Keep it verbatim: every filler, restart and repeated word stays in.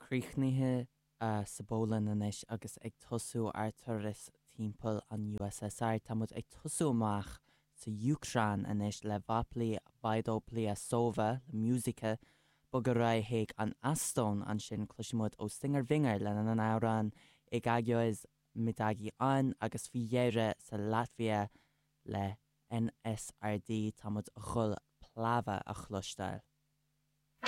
Críochnaithe sa bPolainn anois agus ag tosú ár turas timpeall an USSR tá muid ag tosú amach sa Úcráin anois le Vopli Vaidopliasova le Muzyka bogadh chuig an Eastóin ansin cloisfimid ó Stinger Vinger lena n-amhrán Igaüks Midagi On agus faoi dheireadh sa Laitvia le NSRD tá muid chun Pļava a chloisteáil.